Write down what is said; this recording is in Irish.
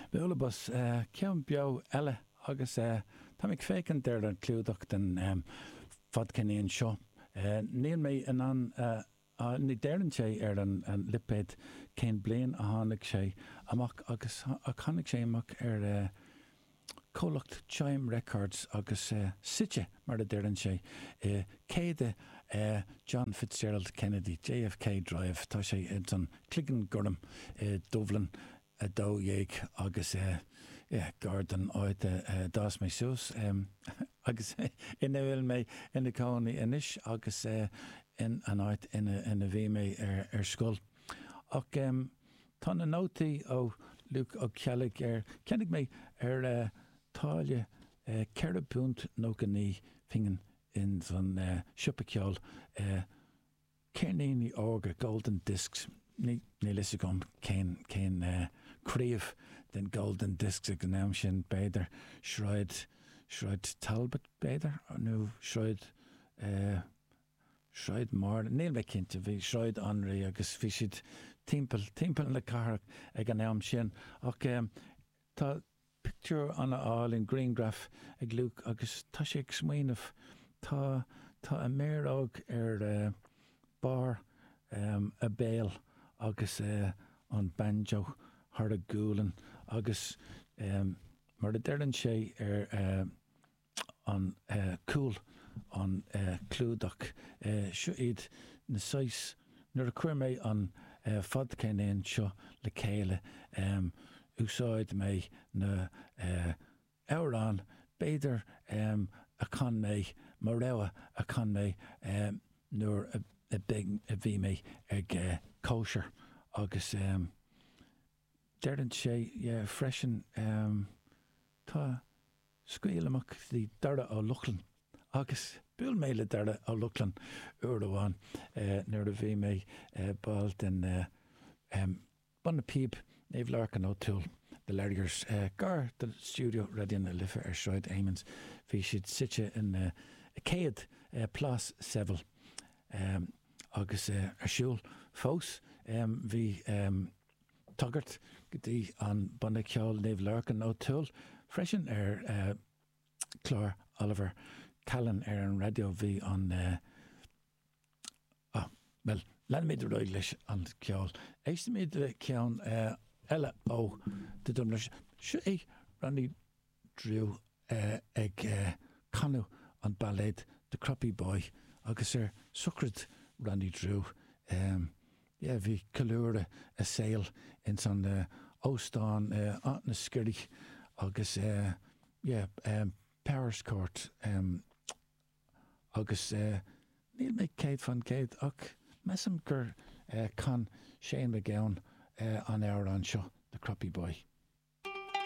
Bualadh bos, ceann beo eile agus táim ag féachaint ar an clúdach den fadcheirnín seo. Níl mé in ann, ní deireann sé ar an lipéad cén bliain a tháinig sé amach agus ach tháinig sé amach ar comhlacht Chimes Records agus suite, mar a deireann sé, i 100 John Fitzgerald Kennedy, JFK Drive. Tá sé ins an Cloigeann Gorm i Duibhlinn 12 agus yeah, gar don áit a d'fhás mé suas agus ina bhfuil mé ina cónaí anois agus in an áit ina bhí mé ar scoil. Ach tá na nótaí ó Luke Ó Ceallaigh ar, cheannaigh mé ar táille £4 99 phingin ins an siopa ceoil, ceirníní órga, Golden Discs, níl fhios agam cén cén craobh den Golden Discs ag an am sin, b'fhéidir Sráid, Sráid Talbot b'fhéidir, nó Sráid. Sráid Mháire, níl mé cinnte, bhí Sráid Anraí agus bhí siad timpeall, timpeall na cathrach ag an am sin. Ach tá pictiúr an-álainn, grianghraf ag Luke agus tá sé ag smaoineamh, tá, tá a méaróg ar barr a béil agus an banjo thar a gualainn agus mar a deireann sé ar an cúl an clúdach. Seo iad na saghas, nuair a chuir mé an fadcheirnín seo le chéile, úsáid mé na amhráin b'fhéidir a chan mé, mo rogha a chan mé nuair a bhí mé ag cóisir agus deireann sé freisin tá Scaoil amach go dtí Dara Ó Lochlainn agus bhuail mé le Dara Ó Lochlainn uair amháin nuair a bhí mé ball den Banna Píob Naomh Lorcan O'Toole, The Larriers, gar do stiúideo Raidió na Life ar Sráid Amiens. Bhí siad suite in 100 Plás Seville agus ar siúl fós. Bhí. tagairt go dtí an banna ceoil Naomh Lorcan O'Toole freisin ar chlár Oliver Callan ar an raidió. Bhí an ah, bhuel, leanfaimid ar aghaidh leis an ceol. Éistfimid le ceann eile ó The Dubliners. Seo é Ronnie Drew ag canadh an bailéad The Croppy Boy agus ar sochraid Ronnie Drew yeah bhí ceiliúradh a saoil ins an óstán Áth na Sceirí agus yeah Powerscourt agus níl mé 100% ach measaim gur chan Shane MacGowan an amhrán seo The Croppy Boy.